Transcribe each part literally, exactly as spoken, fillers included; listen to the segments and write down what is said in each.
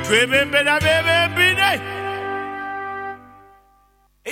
Twebembera bebembire.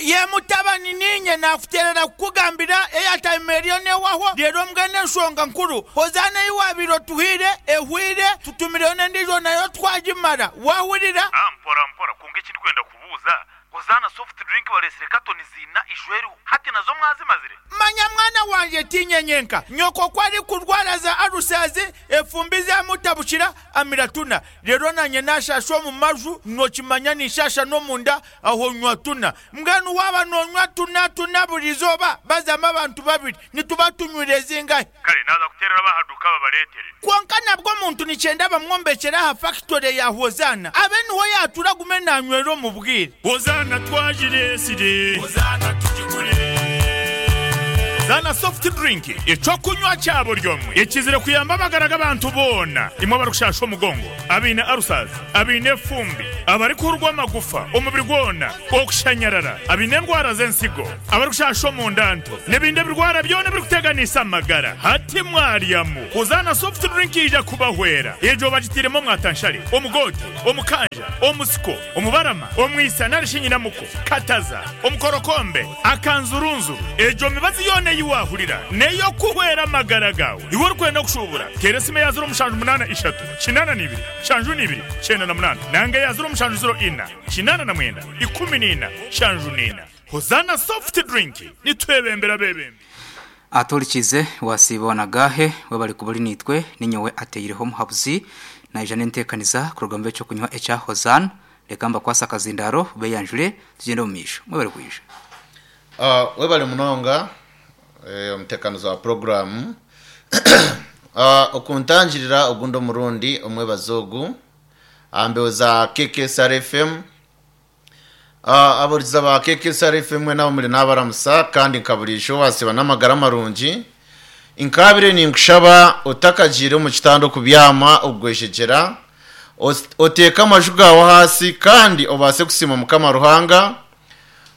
Ye mutabani, ninye nakuterera kukugambira airtime eriyo newaho. Rero mbwenu enshonga nkuru, Hozaana ei wabaire otuhaire ehweire, tutumireyo n'endiijo nayo twagimara. Wahurira? Ah, mpora mpora, kwonka eki ndikwenda kubuuza, Hozaana soft drink bareetsire katoni ziina ijo eriho, hati nazo mwazimazire? Manya mwana wangye, tiinye nyenka. Nyoko ku arikurwara za alusazi, efumbi zamutabukira, amira tuna. Reero naanye naashaasha omu maju, nookimanya ninshaasha n'omunda, aho nywa tuna. Mbwenu waaba noonywa tuna tuna buri izooba, bazamu abantu babiri, nituba tunywire zingahi? Kare naaza kuteerera ab'aha duuka babareetere. Kwonka nabwo omuntu nikyenda bamwombekyere aha fakitore ya Hozaana, abe niho yaatuura agume naanywera omu bwire. Hozaana twagireetsire. Hozaana tugigure. Hozaana soft drink, eky'okunywa kya buri omwe ekizire kuyamba amagara g'abantu boona. Imwe abarikushasha omugongo, abaine ulcers, abaine efumbi, abarikuhurwa amagufa omubiri gwona, okushanyarara, abaine endwara z'ensigo, abarikushasha omunda nto, n'ebindi ebirwara byona ebirikuteganisa amagara. Hati mwaryamu Hozaana soft drink yaija kubahwera. Egyo bagitairemu omwatanshare, omugoote, omukanja, omusiko, omubarama, omwisa nari shi nyinamuko, kataza, omukorokombe, akanzurunzuru. Egyo mibazi yoona ei waahurira n'ey'okuhwera amagara gaawe. Iwe orikwenda kushuubura, teera esimu eya ziro mushanju munaana ishatu, kinaana na ibiri, nshanju na ibiri, kyenda na munaana nanga eya ziro mushanju ziro ina, kinaana na mwenda, ikumi na ina, nshanju na ina. Hozaana soft drink, nitwebembera abeebembi. Aturikize wasiiba wanagahe webale kuba ori naitwe. Ninyowe ateireho omuhabuzi naija n'enteekaniza kuruga mu eky'okunywa ekya Hozaana. Reka mbakwase akazindaro beyanjure, tugyende omu maisho. Mwebale kwija. Uh, webale munonga, eh, omutekanizi wa puroguramu uh, okuntangirira ogundi omurundi omwebazo ogu aha za K K S R F M. uh, aburiza ba K K S R F M mwena abo muri nabaramusa, kandi nkaburisha wasiba n'amagara marungi. Nkabire ninkushaba, otakagiire omu kitanda okubyama, okugweshegyera, os- oteeke amaju gaawe hasi kandi obaase kusiima Mukama Ruhanga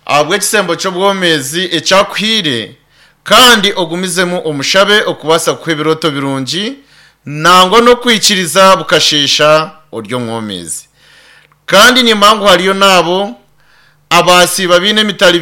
ahabw'ekisembo ky'obwomezi ekyakuhiire, kandi ogumizemu omushabe okubaasa kuha ebirooto birungi nangwa n'okwikiriza bukasheesha ori omwomezi. Kandi nimba ngu hariyo naabo abasiiba biine emitari.